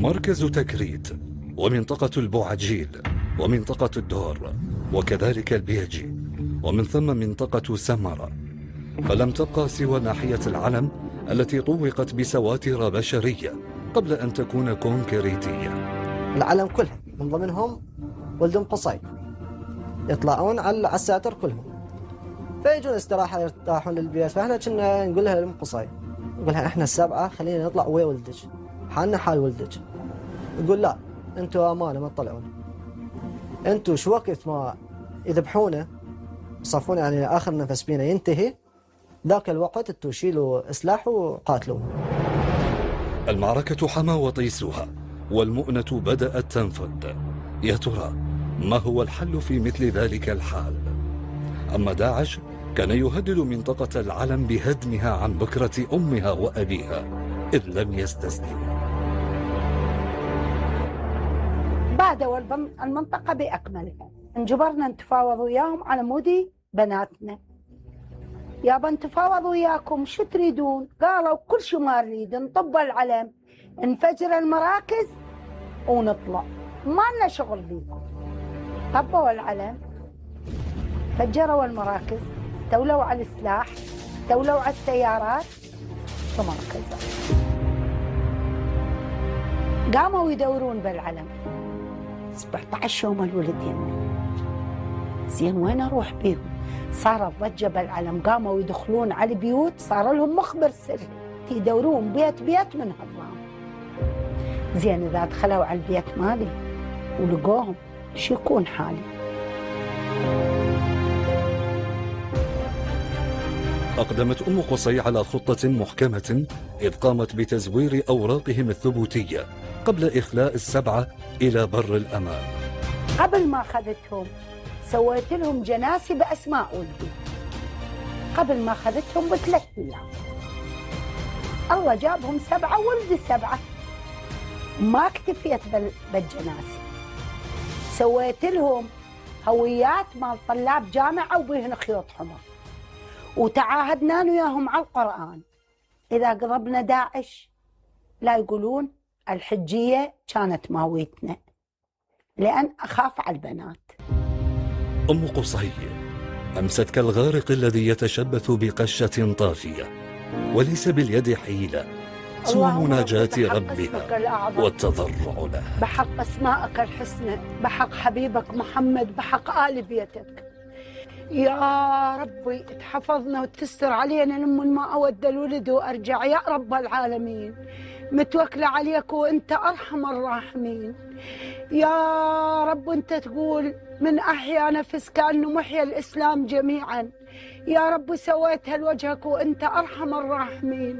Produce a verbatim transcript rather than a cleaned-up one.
مركز تكريت ومنطقة البوعجيل ومنطقة الدور وكذلك البيجي ومن ثم منطقة سمرة، فلم تبقى سوى ناحية العلم التي طوقت بسواتر بشرية قبل أن تكون كونكريتية. العلم كلها من ضمنهم ولد ام قصي يطلعون على الساتر كلهم، فيجون استراحة يرتاحون للبيت، فاحنا كنا نقول لها لام قصي، نقول لها احنا السبعة خلينا نطلع ويا ولدك، حالنا حال ولدك. يقول لا انتوا امانة ما تطلعون، انتوا شو وقت ما يذبحونه يصفون يعني اخر نفس بينا ينتهي، ذاك الوقت انتوا شيلوا سلاح وقاتلوا. المعركة حمى وطيسها والمؤنة بدأت تنفد. يا ترى ما هو الحل في مثل ذلك الحال؟ أما داعش كان يهدد منطقة العلم بهدمها عن بكرة أمها وأبيها إذ لم يستسلموا. بعدوا المنطقة بأكملها، انجبرنا نتفاوض وياهم على مودي بناتنا. يابا نتفاوض وياكم شو تريدون؟ قالوا كل شيء ما نريد، نطب العلم نفجر المراكز ونطلع، ما لنا شغل بيكم. طبوا العلم، فجروا المراكز، استولوا على السلاح، استولوا على السيارات ثم ركزوا. قاموا يدورون بالعلم سبعة عشر يوم الولد يمي. زين وين اروح بيهم؟ صارت ضجه بالعلم، قاموا يدخلون على البيوت، صار لهم مخبر سري يدورون بيت بيت من هالرام. زين اذا دخلوا على البيت مالي ولقوهم شو يكون حالي؟ أقدمت أم قصي على خطة محكمة إذ قامت بتزوير أوراقهم الثبوتية قبل إخلاء السبعة إلى بر الأمان. قبل ما أخذتهم سويت لهم جناسي بأسماء ولدي، قبل ما أخذتهم بثلاث أيام. الله جابهم سبعة ولد السبعة، ما اكتفيت بالجناسي، سويت لهم هويات مال طلاب جامعة وبيهن خيوط حمر، وتعاهدنا وياهم على القرآن إذا قربنا داعش لا يقولون الحجية كانت ماويتنا، لأن أخاف على البنات. أم قصي أمست كالغارق الذي يتشبث بقشة طافية، وليس باليد حيلة سوى مناجاة ربها والتضرع له. بحق أسمائك الحسنى، بحق حبيبك محمد، بحق آل بيتك يا ربي تحفظنا وتستر علينا لمن ما أود الولد وأرجع يا رب العالمين. متوكلة عليك وأنت أرحم الراحمين يا رب. أنت تقول من أحيا نفس كأنه محيا الإسلام جميعا، يا رب سويتها لوجهك وأنت أرحم الراحمين.